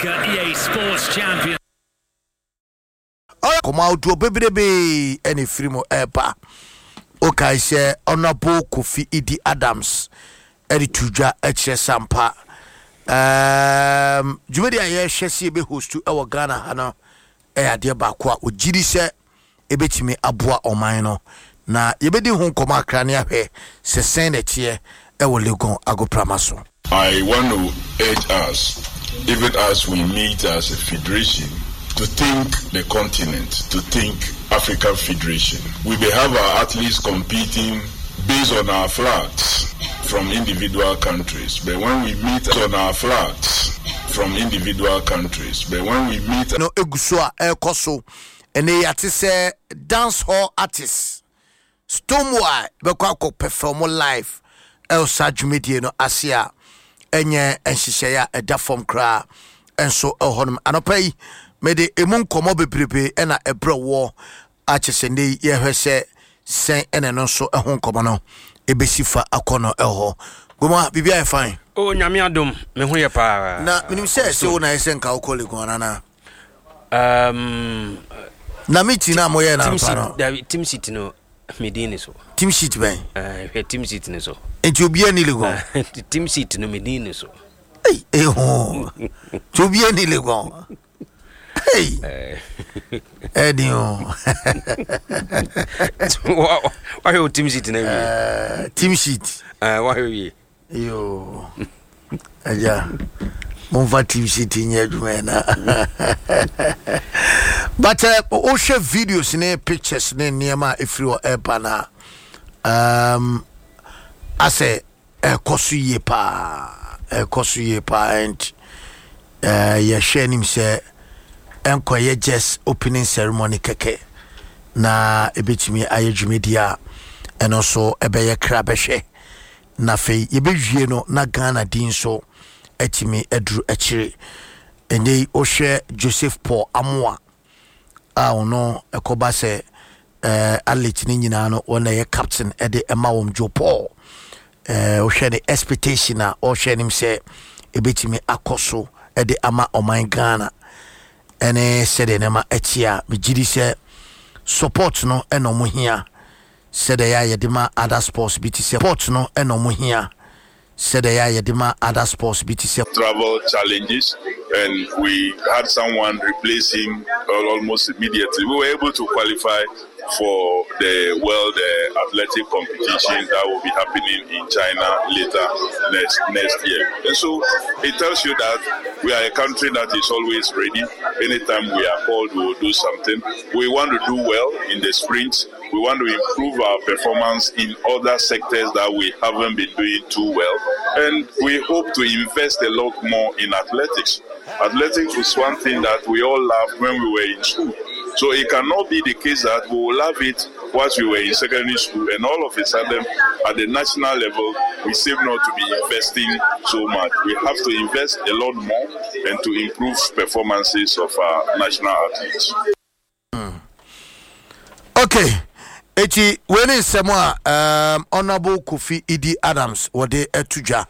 Africa EA Sports Champion. Nkɔmmɔ ahodoɔ bebrebe na ɛfiri mu ɛreba. Wokae sɛ Honourable Kofi Idi Adams de to dwa kyerɛ sɛ ampa um, dwumadi a yɛrehwɛ sɛ yɛbɛhostu wɔ Ghana ha no ɛyɛ adeɛ baako a ɔgye di sɛ ɛbɛtumi aboa ɔman no na yɛbɛdi ho nkɔmmɔ akra ne ahwɛ sɛ sɛn na ɛteɛ ɛwɔ Legon agoprama so. I want to urge us, even as we meet as a federation, to think the continent, to think African Federation. We may have our athletes competing based on our flags from individual countries, but when we meet on our flags from individual countries, but when we meet. No egu so a ɛrekɔ so ɛnɛ yɛate sɛ dance hall artist Stonebwoy bɛkɔ akɔ pɛfɛɔmo live ɛwɔ saa dwumadie no ase a ɛnyɛ nhyehyɛeɛ a ɛda fam koraa nso ɛwɔ hɔnom. Anɔpa yi mede emu nkɔmmɔ bebrebe ɛna ɛbrɛ woɔ akyɛ sɛ nnɛ yi yɛhwɛ sɛ sɛn ɛna ɛno nso ɛho nkɔmmɔ no ɛbɛsi fa akɔ no ɛwɔ hɔ. Goma, biribi ayɛ fine? Oh, Nyame adom, me ho yɛ paa. Na menim sɛ ɛsɛ wo na ɛsɛ nka wokɔ Legon anaa? Na meeting na moyɛ na anɔpa no. Dabi, team sheet no me din ni so. Team sheet bɛn? Hwɛ team sheet ni so. Nti obiara ni Legon. Team sheet no me din ni so. Ei, eho. Nti obiara ni Legon. Hey. Ɛdi o. Wahwɛ o team sheet na wie. Team sheet. Wahwɛ wie. Yoo, agya, momfa team sheet nyɛ adwuma yi na. But wohwɛ videos ne pictures ne nneɛma a ɛfiri hɔ ɛreba no a, asɛ ɛkɔ so yie paa, ɛkɔ so yie paa and yɛhwɛ anim sɛ ɛnkɔyɛ just opening ceremony kɛkɛ na ɛbɛtumi ayɛ dwumadi a ɛno nso ɛbɛyɛ kra bɛhwɛ. Na afei yɛbɛwie no na Ghana din nso atumi aduru akyire. Ɛnnɛ yi wohwɛ Joseph Paul Amoah a ɔno ɛkɔba sɛ eh, athlete no nyinaa no wɔn na ɛyɛ captain ɛde ɛma wɔn Joe Paul eh, wohwɛ ne expectation a ɔhwɛ anim sɛ ɛbɛtumi akɔ so ɛde ama ɔman Ghana ɛne sɛdeɛ nneɛma ɛte a megye di sɛ support no ɛna ɔmo hia Sɛdeɛ ɛyɛ a yɛde ma other sports bi te sɛ Sports no na ɔmo hia Sɛdeɛ ɛyɛ a yɛde ma other sports bi te sɛ. Travel challenges and we had someone replace him almost immediately. We were able to qualify for the World Athletic Competition that will be happening in China later next next year. And so it tells you that we are a country that is always ready. Anytime we are called, we will do something. We want to do well in the sprint. We want to improve our performance in other sectors that we haven't been doing too well. And we hope to invest a lot more in athletics. Athletics was one thing that we all loved when we were in school. So it cannot be the case that we will love it whilst we were in secondary school and all of a sudden at the national level we seem not to be investing so much. We have to invest a lot more and to improve performances of our national athletes. Okay, eti wei ne nsɛm a um, Honorable Kofi Idi Adams wɔde ato dwa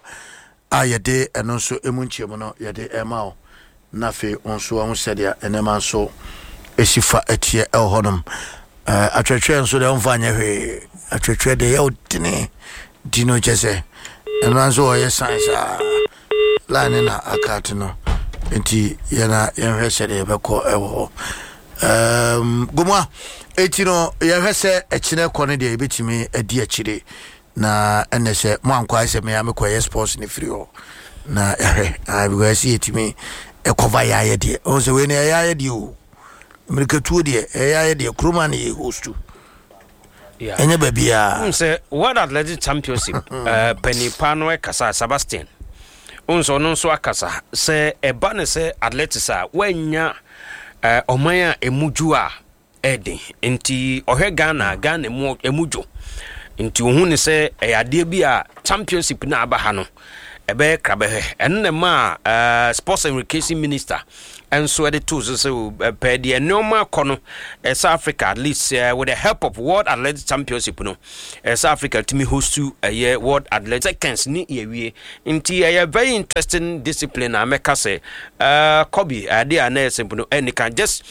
a yɛde ɛno nso emu nkyɛmu no yɛde ɛma wo na afei wo nso wahu sɛdeɛ nneɛma nso ɛsi fa ɛteɛ ɛwɔ hɔnom. Uh, atwɛtwɛ nso deɛ ɔmfa nyɛ hwee atwɛtwɛ deɛ yɛ wodene di no kyɛ sɛ ɛno nso ɔyɛ science a line na akate no nti yɛna yɛnhwɛ sɛdeɛ yɛbɛkɔ ɛwɔ hɔ um, gomoa eti no yɛhwɛ sɛ ɛkyinɛ kɔ no deɛ yɛbɛtumi adi akyire na ɛnɛ sɛ mo ankɔ ayɛ sɛ mea mekɔyɛ sports no firi hɔ na yɛhwɛ ah, because ɛsɛ yɛtumi ɛkɔva yɛ ayɛ deɛ ɔhu sɛ wei no ɛyɛ ayɛ deɛ o mmirikatuo deɛ ɛyɛ ayɛ deɛ kuroma no yɛ hostu ɛnyɛ baabiaa sɛ World Athletic Championship uh, panipa no ɛkasa Sebastian wohu sɛ ɔno nso akasa sɛ ɛba ne sɛ athletics a woannya eh, ɔman a ɛmu dwo a ɛden nti ɔhwɛ Ghana Ghana mu ɛmu dwo nti ohun ne sɛ ɛyɛ adeɛ bi a championship na aba ha no. Ɛbɛyɛ krabɛhwɛ. Ɛno na ɛmaa Sports and Recreation Minister nso ɛde too so sɛ pɛɛ deɛ nneɛma akɔ no, South Africa at least with the help of World Athletics Championship no, South Africa tumi host ɛyɛ World Athletics seconds ne yɛwie. Nti ɛyɛ very interesting discipline a mɛka sɛ Kobe, adeɛ a na ɛyɛ simple no ɛnika just